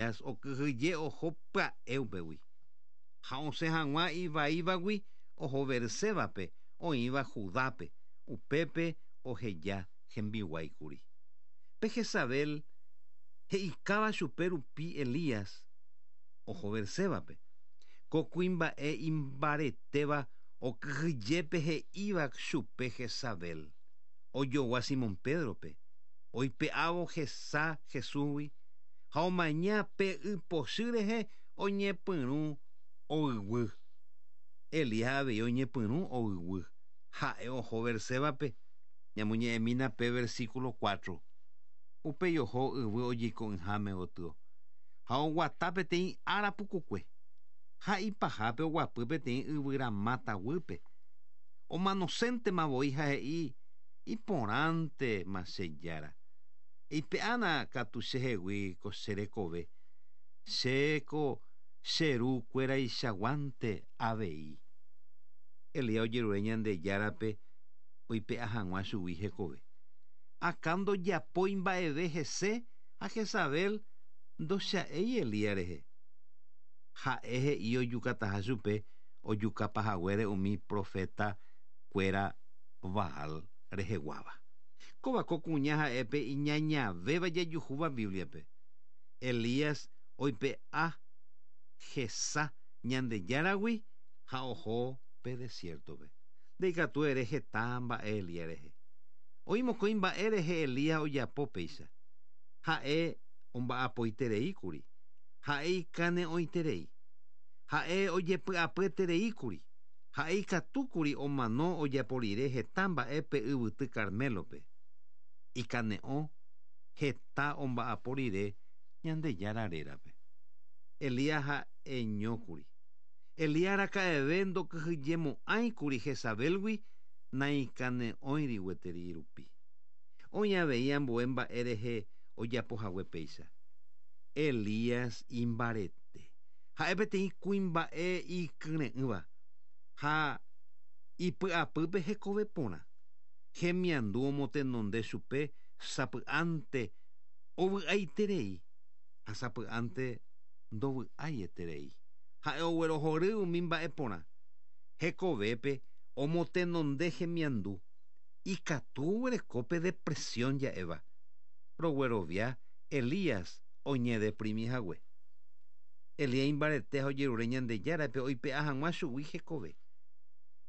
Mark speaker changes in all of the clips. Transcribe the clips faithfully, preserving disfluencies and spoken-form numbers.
Speaker 1: Okyhyje oho pya'e upégui. Ha osẽ hag̃ua ivaívagui oho Bersébape oĩva Judápe, upépe oheja hembiguáikuri. Pe Jezabel he'ikáva chupe rupi Elías oho Bersébape. Ko kuimba'e imbaretéva okyhyjépe he'íva chupe Jezabel. Ojogua Simón Pedrope, oipe'ávo hesa Jesúsgui ha omaña pe ypochy rehe oñepyrũ oyguy. Elías avei oñepyrũ oyguy. Ha'e oho Bersébape. Ñamoñe'ẽmína pe versículo cuatro. Upéi oho yvy ojeiko'ỹháme gotyo. Ha oguata peteĩ ára pukukue. Ha ipahápe oguapy peteĩ yvyramáta guýpe. Omanoséntema voi ha he'i iporãntema che jára. Eipe'ána katu chehegui ko che rekove. Chéko che rukueraichaguánte avei. Elías ojerure Ñandejárape oipe'a hag̃ua chugui hekove. Akã ndojapói mba'eve hese ha Jezabel ndocha'éi Elías rehe. Ha'e he'i ojukataha chupe ojukapahaguére umi profeta kuéra Baal reheguáva. Kóva ko kuña ha'épe iñañavéva jajuhúva Bíbliape. Elías oipe'a hesa Ñandejáragui ha oho pe desiertope. Ndaikatu ere heta mba'e Elías rehe. Oĩ mokõi mba'e rehe Elías ojapo péicha. Ha'e omba'apoitereíkuri. Ha'e ikane'õiterei. Ha'e ojepy'apyetereíkuri. Ha'e ikatúkuri omano ojapo rire heta mba'e pe yvyty Carmelope. Ikane'õ heta omba'apo rire Ñandejára rérape. Elías ha'eñókuri. Elías araka'eve ndokyhyjemo'ãikuri Jezabelgui naikane'õiri gueteri rupi. Oĩ avei ambue mba'e rehe ojapohague péicha. Elías imbarete. Ha'e peteĩ kuimba'e ikyre'ỹva ha ipy'apýpe hekove porã. Hemiandu omotenonde chupe sapy'ánte ovy'aiterei ha sapy'ánte ndovy'aieterei. Ha'e oguerohory umi mba'e porã. Hekovépe omotenonde hemiandu. Ikatu oguereko depresión ja'éva. Roguerovia Elías oñedeprimihague. Elías imbarete ha ojerure Ñandejárape oipe'a hag̃ua chugui hekove.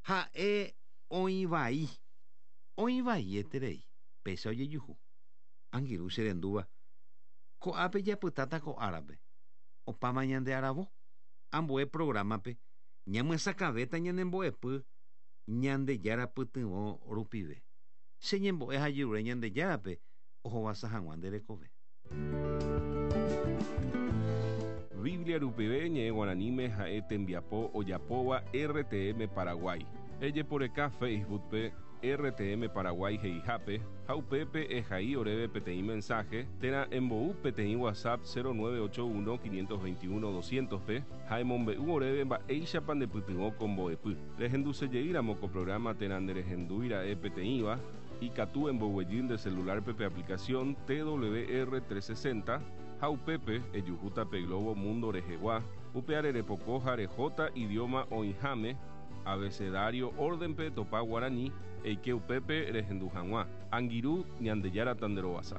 Speaker 1: Ha'e oĩvai. Oĩvaieterei. Péicha ojejuhu. Angirũ cherendúva. Ko'ápe japytáta ko árape. Opáma ñande aravo. Ambue programape ñamyesakãvéta ñanembo'epy Ñandejára pytyvõ rupive. Che ñembo'e ha jerure Ñandejárape ohovasa hag̃ua nde rekove.
Speaker 2: Biblia rupive ñe'ẽ guaraníme ha'e tembiapo ojapóva R T M Paraguay. Ejeporeka Facebookpe R T M Paraguay he'ihápe ha upépe ehai oréve peteĩ mensaje térã embou peteĩ WhatsApp cero nueve ocho uno quinientos veintiuno doscientos pe ha emombe'u oréve mba'éichapa ndepytyvõ ko mbo'epy. Rehendusejeýramo ko programa térã nderehendúira'e peteĩva ikatu emboguejy nde celularpe pe aplicación T W R trescientos sesenta ha upépe ejuhúta pe Globo Mundo rehegua upe arerepoko ha rehóta idioma oĩháme abecedario órdenpe topa guarani eike upépe rehendu hag̃ua. Angirũ Ñandejára tanderovasa.